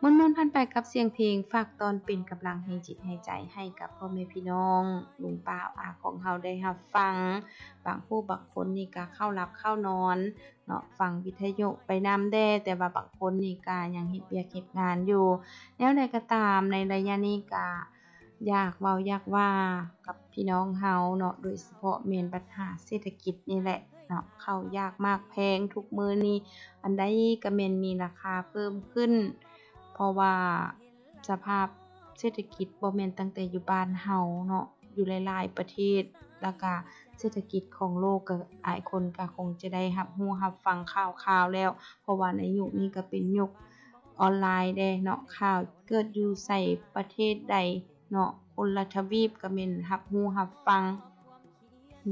ມ່ວນໆຜ່ານໄປກັບສຽງເພງ ຝາກຕ້ອນເປັນກຳລັງແຮງຈິດແຮງໃຈໃຫ້ກັບພໍ່ແມ່ພີ່ນ້ອງ ລຸງປ້າອາຂອງເຮົາໄດ້ຮັບຟັງ. ບາງຜູ້ບາງຄົນນີ້ກະເຂົ້າຫຼັບເຂົ້ານອນເນາະ ຟັງວິທະຍຸໄປນຳແດ່ ແຕ່ວ່າບາງຄົນນີ້ກະຍັງເຮັດວຽກເຮັດງານຢູ່. ແນວໃດກໍຕາມ ໃນໄລຍະນີ້ກະ ຢາກເວົ້າຢາກວ່າກັບພີ່ນ້ອງເຮົາເນາະ ໂດຍສະເພາະແມ່ນບັນຫາເສດຖະກິດນີ້ແຫຼະເນາະ ເຂົ້າຍາກໝາກແພງທຸກມື້ນີ້ ອັນໃດກໍແມ່ນມີລາຄາເພີ່ມຂຶ້ນ ເພາະວ່າສະພາບເສດຖະກິດບໍ່ແມ່ນຕັ້ງແຕ່ຢູ່ບ້ານເຮົາເນາະ ຢູ່ຫຼາຍໆປະເທດ ແລ້ວກະເສດຖະກິດຂອງໂລກກໍຫຼາຍຄົນກໍຄົງຈະໄດ້ຮັບຮູ້ຮັບຟັງຂ່າວຄາວແລ້ວ ເພາະວ່າໃນຍຸກນີ້ກໍເປັນຍຸກ ອອນລາຍແດ່ເນາະ ຂ່າວເກີດຢູ່ໃສປະເທດໃດເນາະ ຄົນລະທະວີບກໍແມ່ນຮັບຮູ້ຮັບຟັງ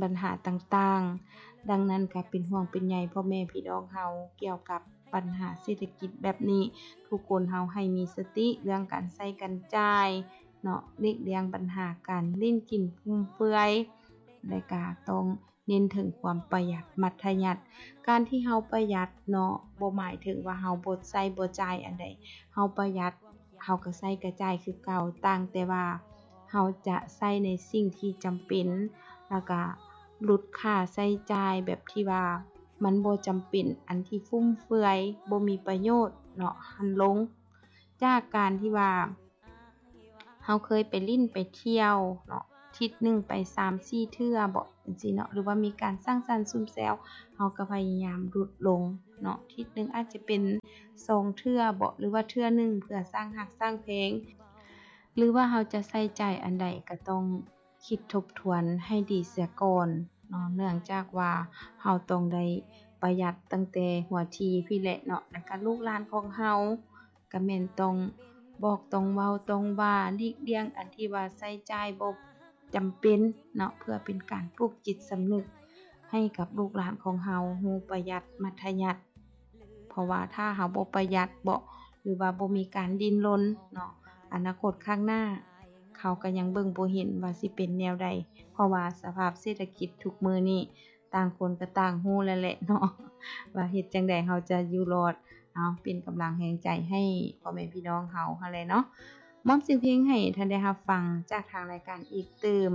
ບັນຫາຕ່າງໆ. ດັ່ງນັ້ນກໍເປັນຫ່ວງເປັນໃຍພໍ່ແມ່ພີ່ນ້ອງເຮົາກ່ຽວກັບບັນຫາເສດຖະກິດແບບນີ້ ທຸກຄົນເຮົາໃຫ້ມີສະຕິເລື່ອງການໃຊ້ການຈ່າຍເນາະ ຫຼີກລ່ຽງບັນຫາການຫຼິ້ນກິນຟຸມເຟືອຍ ແລະກະຕ້ອງ ເນັ້ນເຖິງຄວາມປະຢັດມັດທະຍັດ. ການທີ່ເຮົາປະຢັດເນາະ ບໍ່ໝາຍເຖິງວ່າເຮົາບໍ່ໃຊ້ບໍ່ຈ່າຍອັນໃດ. ເຮົາປະຢັດ ເຮົາກໍໃຊ້ກະຈ່າຍຄືເກົ່າ, ຕ່າງແຕ່ວ່າເຮົາຈະໃຊ້ໃນສິ່ງທີ່ຈຳເປັນ ແລ້ວກະຫຼຸດຄ່າໃຊ້ຈ່າຍແບບທີ່ວ່າມັນບໍ່ຈຳເປັນ, ອັນທີ່ຟຸມເຟືອຍ ບໍ່ມີປະໂຫຍດເນາະ ຫັ້ນລົງ. ຈາກການທີ່ວ່າ ເຮົາເຄີຍໄປຫຼິ້ນໄປທ່ຽວເນາະ ທິດໜຶ່ງໄປສາມສີ່ເທື່ອບໍ ຈັ່ງຊີ້ເນາະ ຫຼືວ່າມີການສັງສັນຊຸມແຊວ ເຮົາກໍພະຍາຍາມຫຼຸດລົງເນາະ ທິດໜຶ່ງອາດຈະເປັນສອງເທື່ອບໍ ຫຼືວ່າເທື່ອໜຶ່ງ ເພື່ອສ້າງຮັກສ້າງແພງ ຫຼືວ່າເຮົາຈະໃຊ້ຈ່າຍອັນໃດກໍຕ້ອງຄິດທົບທວນໃຫ້ດີເສຍກ່ອນເນາະ ເນື່ອງຈາກວ່າເຮົາຕ້ອງໄດ້ປະຢັດຕັ້ງແຕ່ຫົວທີພີ້ແຫຼະເນາະ ແລ້ວກໍລູກຫຼານຂອງເຮົາ ກໍແມ່ນຕ້ອງບອກ ຕ້ອງເວົ້າ ຕ້ອງວ່າ ຫຼີກລ່ຽງອັນທີ່ວ່າໃຊ້ຈ່າຍບໍ່ຈຳເປັນເນາະ ເພື່ອເປັນການປູກຈິດສຳນຶກໃຫ້ກັບລູກຫຼານຂອງເຮົາຮູ້ປະຢັດມັດທະຍັດ. ເພາະວ່າຖ້າເຮົາບໍ່ປະຢັດເບາະ ຫຼືວ່າບໍ່ມີການດີ້ນລົນເນາະ ອະນາຄົດຂ້າງໜ້າ ເຂົາກໍຍັງເບິ່ງບໍ່ເຫັນວ່າຊິເປັນແນວໃດ ເພາະວ່າສະພາບເສດຖະກິດທຸກມື້ນີ້ ຕ່າງຄົນກໍຕ່າງຮູ້ແລ້ວແຫຼະເນາະ ວ່າເຮັດຈັ່ງໃດເຮົາຈະຢູ່ລອດ. ເອົາ ເປັນກຳລັງແຮງໃຈໃຫ້ພໍ່ແມ່ພີ່ນ້ອງເຮົາຫັ້ນແຫຼະເນາະ. ມອບສຽງເພງໃຫ້ທ່ານໄດ້ຮັບຟັງຈາກທາງລາຍການອີກຕື່ມ.